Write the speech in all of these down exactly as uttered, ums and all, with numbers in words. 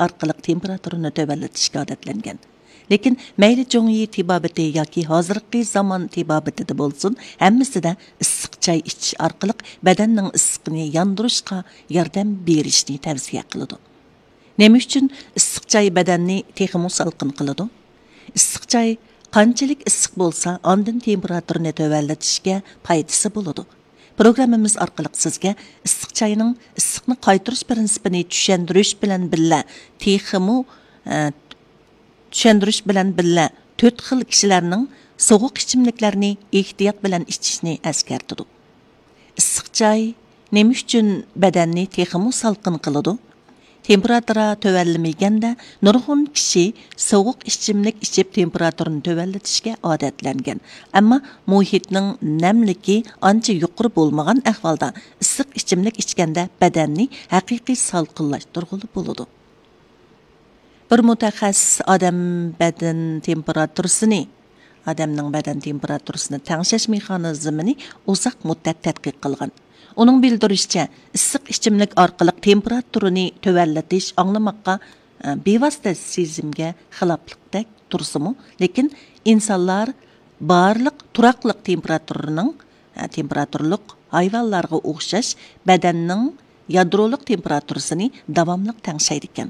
ئارقىلىق تېمپېراتۇرىنى تۆۋەنلىتىشكە ئادەتلەنگەن. لېكىن مەيلى جۇڭيى تېبابىتى ياكى ھازىرقى زامان تېبابىتىدە بولسۇن، ھەممىسىدە ئىسسىق چاي ئىچىش ئارقىلىق بەدەننىڭ ئىسسىقىنى ياندۇرۇشقا ياردەم بېرىشنى تەۋسىيە قىلىدۇ. نېمە ئۈچۈن ئىسسىق چاي بەدەننى تېخىمۇ سالقىن قىلىدۇ؟ ئىسسىق چاي قانچىلىك ئىسسىق بولسا، ئاندىن تېمپېراتۇرىنى تۆۋەنلىتىشكە پايدىسى بولىدۇ. پروگراممىمىز ئارقىلىق سىزگە ئىسسىق چاينىڭ ئىسسىقنى قايتۇرۇش پىرىنسىپىنى چۈشەندۈرۈش بىلەن بىللە تېخىمۇ، ئە، چۈشەندۈرۈش بىلەن بىللە تۆت خىل كىشىلەرنىڭ سوغۇق ئىچىملىكلەرنى ئېھتىيات بىلەن ئىچىشنى ئەسكەرتىدۇ. ئىسسىق چاي نېمە ئۈچۈن بەدەننى تېخىمۇ سالقىن قىلىدۇ؟ تېمپېراتۇرا تۆۋەنلىمىگەندە، نۇرغۇن كىشى سوغۇق ئىچىملىك ئىچىپ، تېمپېراتۇرىنى تۆۋەنلىتىشكە ئادەتلەنگەن. ئەمما مۇھىتنىڭ نەملىكى ئانچە يۇقىرى بولمىغان ئەھۋالدا، ئىسسىق ئىچىملىك ئىچكەندە بەدەننى ھەقىقىي سالقىنلاشتۇرغىلى بولىدۇ. بىر مۇتەخەسسىس ئادەم بەدەن تېمپېراتۇرىسىنى، ئادەمنىڭ بەدەن تېمپېراتۇرىسىنى تەڭشەش مېخانىزمىنى ئۇزاق مۇددەت تەتقىق قىلغان. ئۇنىڭ بىلدۈرۈشىچە، ئىسسىق ئىچىملىك ئارقىلىق تېمپېراتۇرىنى تۆۋەنلىتىش ئاڭلىماققا، ئە، بىۋاسىتە سېزىمگە خىلاپلىقتەك تۇرسىمۇ، لېكىن ئىنسانلار بارلىق تۇراقلىق تېمپېراتۇرىنىڭ، ئە، تېمپېراتۇرلۇق ھايۋانلارغا ئوخشاش بەدەننىڭ يادرولۇق تېمپېراتۇرىسىنى داۋاملىق تەڭشەيدىكەن.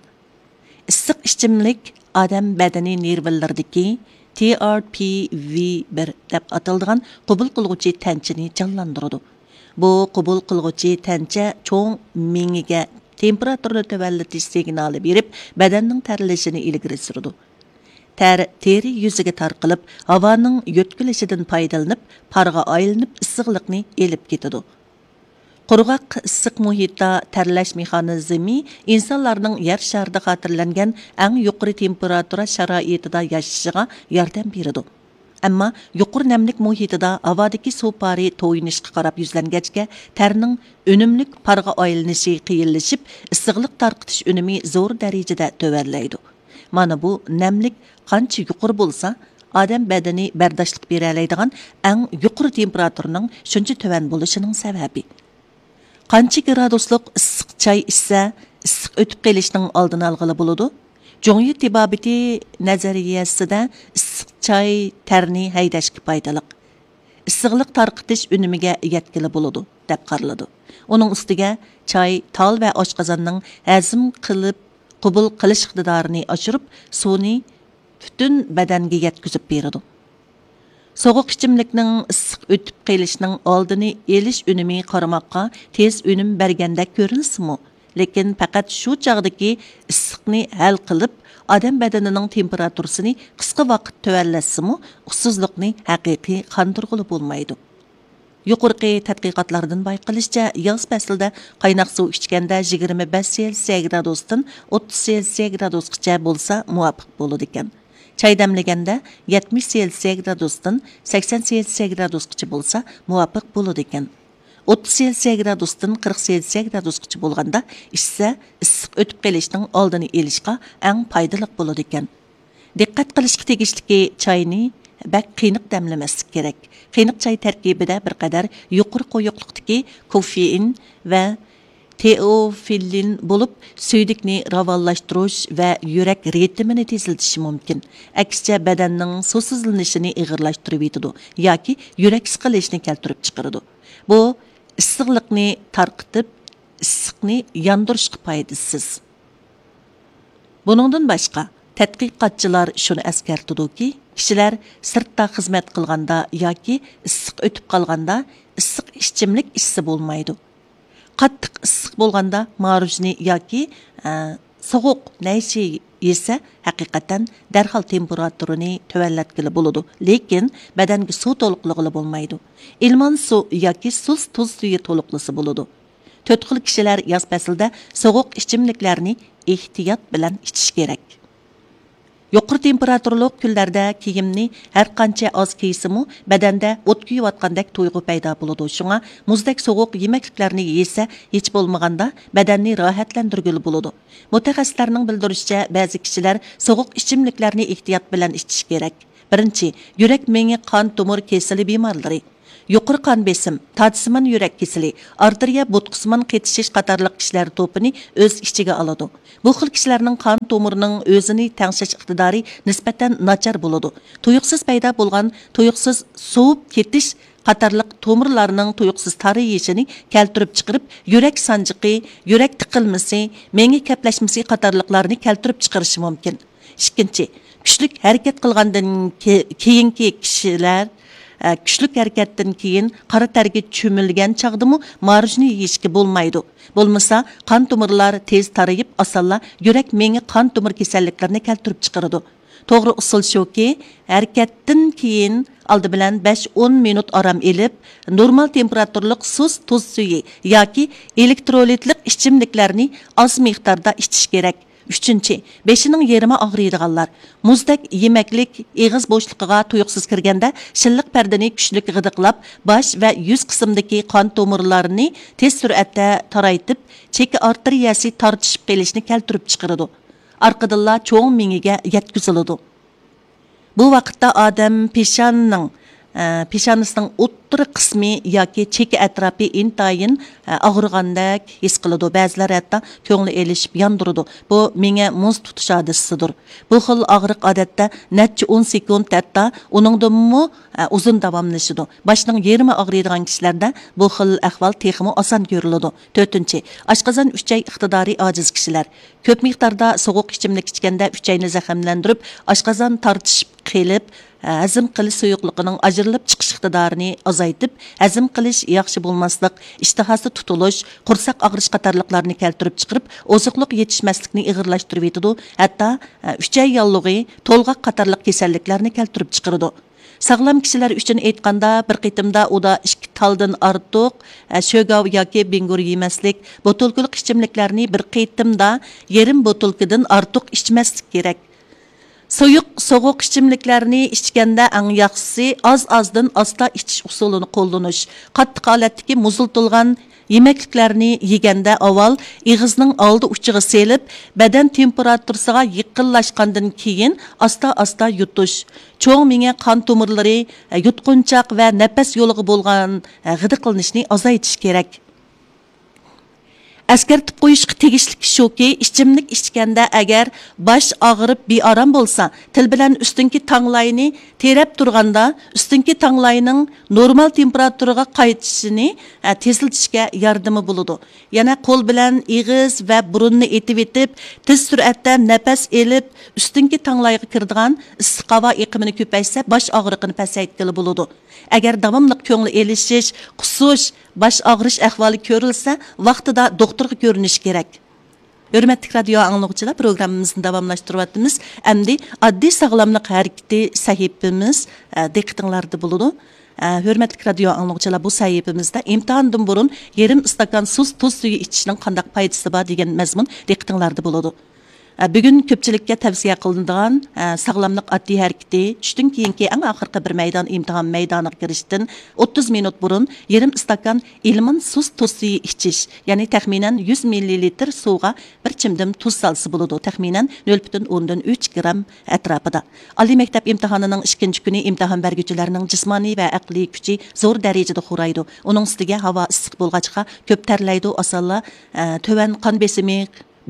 ئىسسىق ئىچىملىك ئادەم بەدىنى نېرۋىلىرىدىكى تى ئار پى ۋى بىر دەپ ئاتىلىدىغان قوبۇل قىلغۇچى تەنچىنى جانلاندۇرىدۇ. بۇ قوبۇل قىلغۇچى تەنچە چوڭ مېڭىگە تېمپېراتۇرىنى تۆۋەنلىتىش سىگنالى بېرىپ، بەدەننىڭ تەرلىشىنى ئىلگىرى سۈرىدۇ. تەر تېرە يۈزىگە تارقىلىپ، ھاۋانىڭ يۆتكىلىشىدىن پايدىلىنىپ، پارغا ئايلىنىپ، ئىسسىقلىقنى ئېلىپ كېتىدۇ. قۇرغاق ئىسسىق مۇھىتتا تەرلەش مېخانىزمى ئىنسانلارنىڭ يەر شارىدا خاتىرىلەنگەن ئەڭ يۇقىرى تېمپېراتۇرا شارائىتىدا ياشىشىغا ياردەم بېرىدۇ. ئەمما يۇقىرى نەملىك مۇھىتىدا ھاۋادىكى سۇ پارى تويۇنۇشقا قاراپ يۈزلەنگەچكە، تەرنىڭ ئۈنۈملۈك پارغا ئايلىنىشى قىيىنلىشىپ، ئىسسىقلىق تارقىتىش ئۈنۈمى زور دەرىجىدە تۆۋەنلەيدۇ. مانا بۇ نەملىك قانچە يۇقىرى بولسا، ئادەم بەدىنى بەرداشلىق بېرەلەيدىغان ئەڭ يۇقىرى تېمپېراتۇرىنىڭ شۇنچە تۆۋەن بولۇشىنىڭ سەۋەبى. قانچە گرادۇسلۇق ئىسسىق چاي ئىچسە، ئىسسىق ئۆتۈپ قېلىشنىڭ ئالدىنى ئالغىلى بولىدۇ؟ جۇڭيى تېبابىتى نەزەرىيەسىدە ئىسسىق چاي تەرنى ھەيدەشكە پايدىلىق، ئىسسىقلىق تارقىتىش ئۈنۈمىگە يەتكىلى بولىدۇ، دەپ قارىلىدۇ. ئۇنىڭ ئۈستىگە چاي تال ۋە ئاشقازاننىڭ ھەزىم قىلىپ قوبۇل قىلىش ئىقتىدارىنى ئاشۇرۇپ، سۇنى پۈتۈن بەدەنگە يەتكۈزۈپ بېرىدۇ. سوغۇق ئىچىملىكنىڭ ئىسسىق ئۆتۈپ قېلىشنىڭ ئالدىنى ئېلىش ئۈنۈمى قارىماققا تېز ئۈنۈم بەرگەندەك كۆرۈنسىمۇ، لېكىن پەقەت شۇ چاغدىكى ئىسسىقنى ھەل قىلىپ، ئادەم بەدىنىنىڭ تېمپېراتۇرىسىنى قىسقا ۋاقىت تۆۋەنلەتسىمۇ، ئۇسسۇزلۇقنى ھەقىقىي قاندۇرغىلى بولمايدۇ. يۇقىرىقى تەتقىقاتلاردىن بايقىلىشىچە، ياز پەسلىدە قايناق سۇ ئىچكەندە يىگىرمە بەش سېلسىيە گرادۇستىن ئوتتۇز سېلسىيە گرادۇسقىچە بولسا مۇۋاپىق بولىدىكەن. چاي دەملىگەندە يەتمىش سېلسىيە گرادۇستىن سەكسەن سېلسىيە گرادۇسقىچە بولسا مۇۋاپىق بولىدىكەن. ئوتتۇز سېلسىيە گرادۇستىن قىرىق سېلسىيە گرادۇسقىچە بولغاندا ئىچسە، ئىسسىق ئۆتۈپ قېلىشنىڭ ئالدىنى ئېلىشقا ئەڭ پايدىلىق بولىدىكەن. دىققەت قىلىشقا تېگىشلىكى، چاينى بەك قېنىق دەملىمەسلىك كېرەك. قېنىق چاي تەركىبىدە بىر قەدەر يۇقىرى قويۇقلۇقتىكى كوفېئىن ۋە تېئوفىللىن بولۇپ، سۈيدۈكنى راۋانلاشتۇرۇش ۋە يۈرەك رىتىمىنى تېزلىتىشى مۇمكىن. ئەكسىچە، بەدەننىڭ سۇسىزلىنىشىنى ئېغىرلاشتۇرۇۋېتىدۇ ياكى يۈرەك سىقىلىشىنى كەلتۈرۈپ چىقىرىدۇ. بۇ ئىسسىقلىقنى تارقىتىپ، ئىسسىقنى ياندۇرۇشقا پايدىسىز. بۇنىڭدىن باشقا، تەتقىقاتچىلار شۇنى ئەسكەرتىدۇكى، كىشىلەر سىرتتا خىزمەت قىلغاندا ياكى ئىسسىق ئۆتۈپ قالغاندا ئىسسىق ئىچىملىك ئىچسە بولمايدۇ. قاتتىق ئىسسىق بولغاندا ماروژنى ياكى، ئە، سوغۇق نەيچى يېسە، ھەقىقەتەن دەرھال تېمپېراتۇرىنى تۆۋەنلەتكىلى بولىدۇ، لېكىن بەدەنگە سۇ تولۇقلىغىلى بولمايدۇ. ئىلمان سۇ ياكى سۇس تۇز سۈيى تولۇقلىسا بولىدۇ. تۆت خىل كىشىلەر ياز پەسلىدە سوغۇق ئىچىملىكلەرنى ئېھتىيات بىلەن ئىچىشى كېرەك. يۇقىرى تېمپېراتۇرىلىق كۈنلەردە كىيىمنى ھەر قانچە ئاز كىيسىمۇ، بەدەندە ئوت كۈيۈۋاتقاندەك تۇيغۇ پەيدا بولىدۇ. شۇڭا مۇزدەك سوغۇق يېمەكلىكلەرنى يېسە، ھېچ بولمىغاندا بەدەننى راھەتلەندۈرگىلى بولىدۇ. مۇتەخەسسىسلەرنىڭ بىلدۈرۈشىچە، بەزى كىشىلەر سوغۇق ئىچىملىكلەرنى ئېھتىيات بىلەن ئىچىشى كېرەك. بىرىنچى، يۈرەك مېڭە قان تومۇر كېسىلى بىمارلىرى. يۇقىرى قان بېسىم، تاجسىمان يۈرەك كېسىلى، ئارتېرىيە بوتقىسىمان قېتىشىش قاتارلىق كىشىلەر توپىنى ئۆز ئىچىگە ئالىدۇ. بۇ خىل كىشىلەرنىڭ قان تومۇرىنىڭ ئۆزىنى تەڭشەش ئىقتىدارى نىسبەتەن ناچار بولىدۇ. تۇيۇقسىز پەيدا بولغان تۇيۇقسىز سوۋۇپ كېتىش قاتارلىق تومۇرلارنىڭ تۇيۇقسىز تارىيىشىنى كەلتۈرۈپ چىقىرىپ، يۈرەك سانجىقى، يۈرەك تىقىلمىسى، مېڭە كەپلەشمىسى قاتارلىقلارنى كەلتۈرۈپ چىقىرىشى مۇمكىن. ئىككىنچى، كۈچلۈك ھەرىكەت قىلغاندىن كې-، كېيىنكى كىشىلەر، ئە، كۈچلۈك ھەرىكەتتىن كېيىن قارا تەرگە چۆمۈلگەن چاغدىمۇ ماروژنى يېيىشكە بولمايدۇ. بولمىسا، قان تومۇرلار تېز تارىيىپ، ئاسانلا يۈرەك، مېڭە، قان تومۇر كېسەللىكلىرىنى كەلتۈرۈپ چىقىرىدۇ. توغرا ئۇسۇل شۇكى، ھەرىكەتتىن كېيىن ئالدى بىلەن بەش ئون مىنۇت ئارام ئېلىپ، نورمال تېمپېراتۇرىلىق سۇس تۇز سۈيى ياكى ئېلېكترولىتلىق ئىچىملىكلەرنى ئاز مىقداردا ئىچىش كېرەك. ئۈچىنچى، بېشىنىڭ يېرىمى ئاغرىيدىغانلار. مۇزدەك يېمەكلىك ئېغىز بوشلۇقىغا تۇيۇقسىز كىرگەندە، شىللىق پەردىنى كۈچلۈك غىدىقلاپ، باش ۋە يۈز قىسمىدىكى قان تومۇرلارنى تېز سۈرئەتتە تارايتىپ، چېكە ئارتېرىيەسى تارتىشىپ قېلىشنى كەلتۈرۈپ چىقىرىدۇ. ئارقىدىنلا چوڭ مېڭىگە يەتكۈزۈلىدۇ. بۇ ۋاقىتتا ئادەم پېشانىنىڭ، ئە، پېشانىسىنىڭ ئوتتۇرا قىسمى ياكى چېكە ئەتراپى ئىنتايىن، ئە، ئاغرىغاندەك ھېس قىلىدۇ. بەزىلەر ھەتتا كۆڭلى ئېلىشىپ ياندۇرىدۇ. بۇ مېڭە مۇز تۇتۇش ھادىسىسىدۇر. بۇ خىل ئاغرىق ئادەتتە نەچچە ئون سېكۇنت، ھەتتا ئۇنىڭدىنمۇ، ئە، ئۇزۇن داۋاملىشىدۇ. باشنىڭ يېرىمى ئاغرىيدىغان كىشىلەردە بۇ خىل ئەھۋال تېخىمۇ ئاسان كۆرۈلىدۇ. تۆتىنچى، ئاشقازان ئۈچەي ئىقتىدارى ئاجىز كىشىلەر. كۆپ مىقداردا سوغۇق ئىچىملىك ئىچكەندە ئۈچەينى زەخىملەندۈرۈپ، ئاشقازان تارتىشىپ قېلىپ، ھەزىم قىلىش سۇيۇقلۇقىنىڭ ئاجرىلىپ چىقىش ئىقتىدارىنى ئازايتىپ، ھەزىم قىلىش ياخشى بولماسلىق، ئىشتىھاسى تۇتۇلۇش، قورساق ئاغرىش قاتارلىقلارنى كەلتۈرۈپ چىقىرىپ، ئوزۇقلۇق يېتىشمەسلىكنى ئېغىرلاشتۇرۇۋېتىدۇ، ھەتتا ئۈچەي ياللۇغى، تولغاق قاتارلىق كېسەللىكلەرنى كەلتۈرۈپ چىقىرىدۇ. ساغلام كىشىلەر ئۈچۈن ئېيتقاندا، بىر قېتىمدا ئۇدا ئىككى تالدىن ئارتۇق، ئە، شۆگاۋ ياكى بىڭگۇر يېمەسلىك، بوتۇلكىلىق ئىچىملىكلەرنى بىر قېتىمدا يېرىم بوتۇلكىدىن ئارتۇق ئىچمەسلىك كېرەك. سۇيۇق، سوغۇق ئىچىملىكلەرنى ئىچكەندە ئەڭ ياخشىسى ئاز-ئازدىن ئاستا ئىچىش ئۇسۇلىنى قوللىنىش. قاتتىق ھالەتتىكى مۇزلىتىلغان يېمەكلىكلەرنى يېگەندە ئاۋۋال ئېغىزنىڭ ئالدى ئۇچىغا سېلىپ، بەدەن تېمپېراتۇرىسىغا يېقىنلاشقاندىن كېيىن ئاستا-ئاستا يۇتۇش. چوڭ مېڭە قان تومۇرلىرى، يۇتقۇنچاق ۋە نەپەس يولىغا بولغان غىدىقلىنىشنى ئازايتىش كېرەك. ئەسكەرتىپ قويۇشقا تېگىشلىكى شۇكى، ئىچىملىك ئىچكەندە ئەگەر باش ئاغرىپ بىئارام بولسا، تىل بىلەن ئۈستۈنكى تاڭلاينى تىرەپ تۇرغاندا، ئۈستۈنكى تاڭلاينىڭ نورمال تېمپېراتۇرىغا قايتىشىنى، ئە، تېزلىتىشكە ياردىمى بولىدۇ. يەنە قول بىلەن ئېغىز ۋە بۇرۇننى ئېتىۋېتىپ، تېز سۈرئەتتە نەپەس ئېلىپ، ئۈستۈنكى تاڭلايغا كىرىدىغان ئىسسىق ھاۋا ئېقىمىنى كۆپەيتسە، باش ئاغرىقىنى پەسەيتكىلى بولىدۇ. ئەگەر داۋاملىق كۆڭۈل ئېلىشىش، قۇسۇش، باش ئاغرىش ئەھۋالى كۆرۈلسە، ۋاقتىدا دوختۇرغا كۆرۈنۈش كېرەك. ھۆرمەتلىك رادىيو ئاڭلىغۇچىلار، پروگراممىمىزنى داۋاملاشتۇرۇۋاتىمىز. ئەمدى ئاددىي ساغلاملىق ھەرىكىتى سەھىپىمىز، ئە، دىققىتىڭلاردا بولىدۇ. ئە، ھۆرمەتلىك رادىيو ئاڭلىغۇچىلار، بۇ سەھىپىمىزدە ئىمتىھاندىن بۇرۇن يېرىم ئىستاكان سۇس تۇز سۈيى ئىچىشنىڭ قانداق پايدىسى بار دېگەن مەزمۇن دىققىتىڭلاردا بولىدۇ. ئە، بۈگۈن كۆپچىلىككە تەۋسىيە قىلىنىدىغان، ئە، ساغلاملىق ئاددىي ھەرىكىتى، چۈشتىن كېيىنكى ئەڭ ئاخىرقى بىر مەيدان ئىمتىھان مەيدانىغا كىرىشتىن ئوتتۇز مىنۇت بۇرۇن يېرىم ئىستاكان ئىلمان سۇس تۇز سۈيى ئىچىش، يەنى تەخمىنەن يۈز مىللىلىتىر سۇغا بىر چىمدىم تۇز سالسا بولىدۇ، تەخمىنەن نۆل پۈتۈن ئوندىن ئۈچ گرام ئەتراپىدا. ئالىي مەكتەپ ئىمتىھانىنىڭ ئىككىنچى كۈنى ئىمتىھان بەرگۈچىلەرنىڭ جىسمانىي ۋە ئەقلىي كۈچى زور دەرىجىدە خورايدۇ. ئۇنىڭ ئۈستىگە ھاۋا ئىسسىق بولغاچقا، كۆپ تەرلەيدۇ، ئاسانلا، ئە، تۆۋەن قان بېسىمى،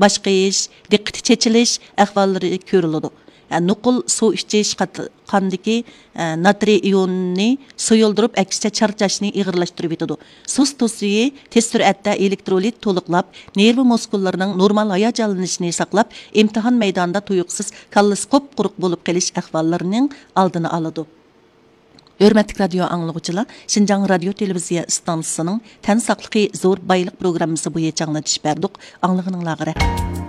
باش قېيىش، دىققىتى چېچىلىش ئەھۋاللىرى كۆرۈلىدۇ. ئە، نوقۇل سۇ ئىچىش قات-، قاندىكى، ئە، ناترىي ئىيونىنى سۇيۇلدۇرۇپ، ئەكسىچە چارچاشنى ئېغىرلاشتۇرۇۋېتىدۇ. سۇس تۇز سۈيى تېز سۈرئەتتە ئېلېكترولىت تولۇقلاپ، نېرۋا مۇسكۇللىرىنىڭ نورمال ھاياجانلىنىشىنى ساقلاپ، ئىمتىھان مەيدانىدا تۇيۇقسىز كاللىسى قۇپقۇرۇق بولۇپ قېلىش ئەھۋاللىرىنىڭ ئالدىنى ئالىدۇ. ھۆرمەتلىك رادىيو ئاڭلىغۇچىلار، شىنجاڭ رادىيو تېلېۋىزىيە ئىستانسىسىنىڭ تەن ساقلىقى زور بايلىق پروگراممىسى بويىچە ئاڭلىتىش بەردۇق. ئاڭلىغىنىڭلارغا رەھمەت.